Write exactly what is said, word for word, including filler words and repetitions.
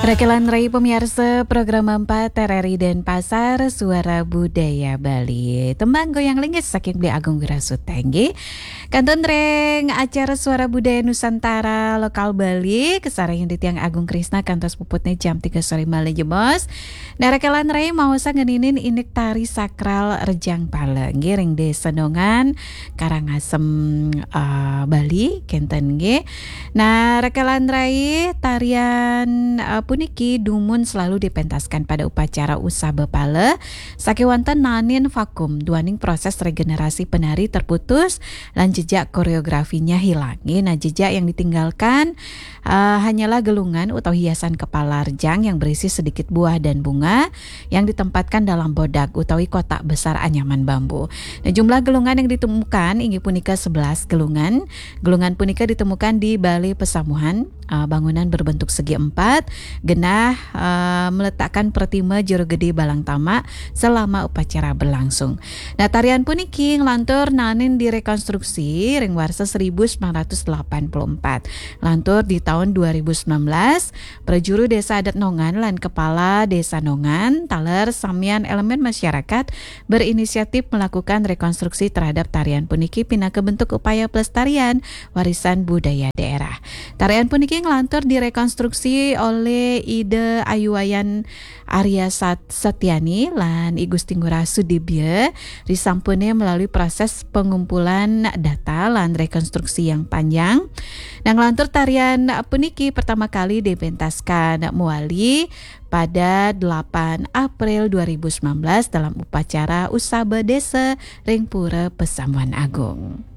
Rekelan rai pemiarsa program empat R R I Denpasar, Suara Budaya Bali. Tembang goyang linggis saking Beli Agung Wirasuta nggih. Kantun ring acara Suara Budaya Nusantara Lokal Bali, kasarengin titiang Agung Krisna kantos puputne jam tiga sore malih jebos. Nah, rekelan rai maosang ngeninin indik tari sakral Rejang Pala nggih ring Desa Nongan, Karangasem, eh, Bali, kenten nggih. Nah, rekelan rai, tarian, eh, puniki dumun selalu dipentaskan pada upacara usaba pala, sakewanten naenin vakum duaning proses regenerasi penari terputus lan jejak koreografinya hilang. Nggih, nah, jejak yang ditinggalkan, eh, hanyalah gelungan utawi hiasan kepala rejang yang berisi sedikit buah dan bunga yang ditempatkan dalam bodak utawi kotak besar anyaman bambu. Nah, jumlah gelungan yang ditemukan inggih punika sebelas gelungan. Gelungan punika ditemukan di Balai Pesamuhan, eh, bangunan berbentuk segi empat, genah, eh, meletakkan pertima Jero Gede Balang Tamak selama upacara berlangsung. Nah, tarian puniki nglantur naenin direkonstruksi ring warsa seribu sembilan ratus delapan puluh empat. Lantur di tahun dua ribu sembilan belas, prajuru Desa Adat Nongan lan Kepala Desa Nongan, taler samian elemen masyarakat, berinisiatif melakukan rekonstruksi terhadap tarian puniki pinaka bentuk upaya pelestarian warisan budaya daerah. Tarian puniki nglantur direkonstruksi oleh Ida Ayu Wayan Arya Sat-, Setiani lan I Gusti Ngurah Sudibya risampune melalui proses pengumpulan data lan rekonstruksi yang panjang. Nah, nglantur tarian puniki pertama kali dipentaskan mawali pada delapan April dua ribu sembilan belas dalam upacara Usaba Desa ring Pura Pesamuan Agung.